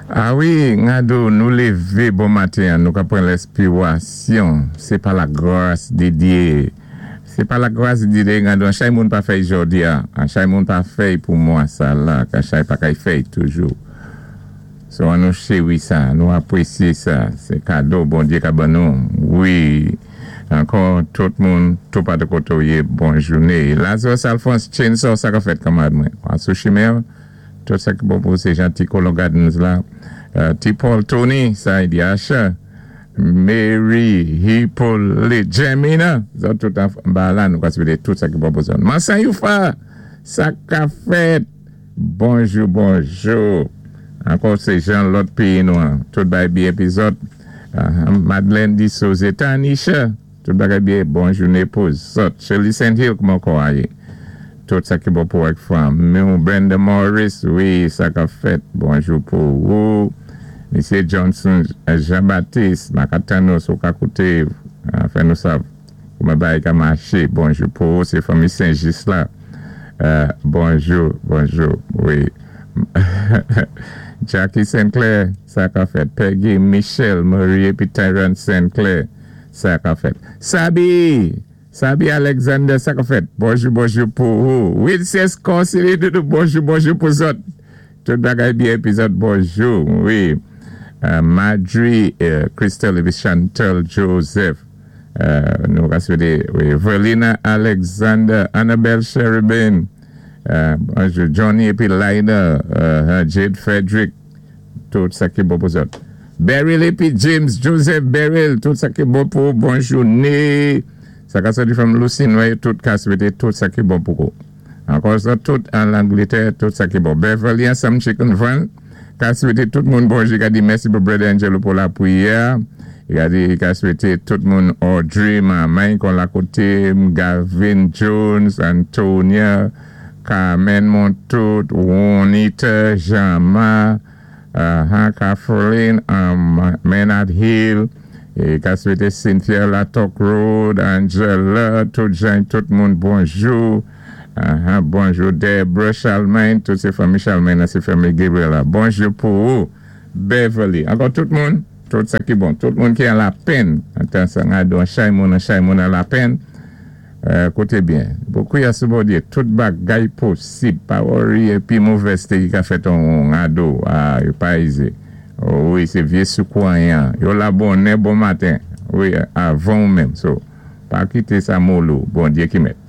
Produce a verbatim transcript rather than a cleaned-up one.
A wi, Ngado, nou lévé bon maten, nou ka pran lenspiwasyon. Sé pa lagras di Dyé. Sé pa lagras di Dyé, Ngado, an chay moun pa fèy jòdi-a. An chay moun pa fèy pou mwa sa la, an chay pa kay fèy toujou. So an nou chéwi sa, nou apwésyé sa. Sé kado Bondyé ka ban nou. Wi, ankò tout moun, tout patou koté ou yé, bon jouné. Lazarus Alphonse, Chainsaw, sa ka fèt kanmad mwen. An sou chimen, tout sa ki bon pou sé Janti Colon Gardens la. Uh, T. Paul Tony, sa y di Asha, Mary, Hippolyte, Jemina, zòt tout an ba la, nou ka swété tout sa ki bon pou zòt. Mansan Youfa, sa ka fèt. Bonjou, bonjou. Ankò sé jan lòt péyi nou an. Tout bay byen épi zòt. Uh, Madeleine di Souze, Tanisha, tout bagay byen, bon jouné pou zòt. Shirley Saint Hill, kouman kò a yé? Tout sa ki bon pou ak fanmi. Brenda Morris, wi, sa ka fèt. Bonjou pou ou. Misye Johnson Jean-Baptiste, Makatano, sou ka koute, fè nou sav, kouman bagay ka maché. Bonjou pou ou, sé fanmi Saint-Just la. Uh, bonjou, bonjou, wi. Jackie Sinclair, sa ka fèt. Peggy Michel, Marie épi Tyron Sinclair, sa ka fèt. Sabi, Sabi Alexander, sa ka fèt. Bonjou, bonjou pou ou. Wilson Corsini, bonjou, bonjou pou zòt. Tout bagay byen épi zòt, bonjou, wi. Uh, Madry, uh, Crystal épi Chantal Joseph. Uh, nou ka swété, wi. Verlina Alexander, Annabelle Cherubin, uh, bonjou, Johnny épi Lina, uh, Jade Frederick, tout sa ki bon pou zòt. Beryl épi James Joseph Beryl, tout sa ki bon pou bon jouné. Sa ka soti from Lucine, wi, tout ka swété tout sa ki bon pou kou. Ankò sa, tout an Langlétè, tout sa ki bon. Beverly ansanm Chicken Van, ka swété tout moun bonjou, ka di mèsi pou Brother Angelo pou lapwiyè. Ka di, ka swété tout moun Audrey, Maman, kon la koté, Gavin Jones, Antonia, Carmen Montout, Juanita, Jean-Ma, uh, Kathleen, um, Maynard Hill, é ka swété Cynthia Latok Road, Angela, tout jan, tout moun bonjou. Uh, bonjou Deborah Charlemagne, tout sé fanmi Charlemagne, sé fanmi Gabriela. Bonjou pou ou, Beverly. Ankò tout moun, tout sa ki bon, tout moun ki an lapenn. Antan sa ngado, an chay moun, an chay moun an lapenn. Euh, koté byen. Pou kwiyé sou Bondyé, tout bagay posib. Pa worry, épi movèzté ki ka fèt an ngado, ah, yo pa ize. Oh, wi, sé vyé sou kwayan. Yo la bonè, bon maten. Wi, avan ou menm. So, pa kité sa mòl ou, Bondyé ki mèt.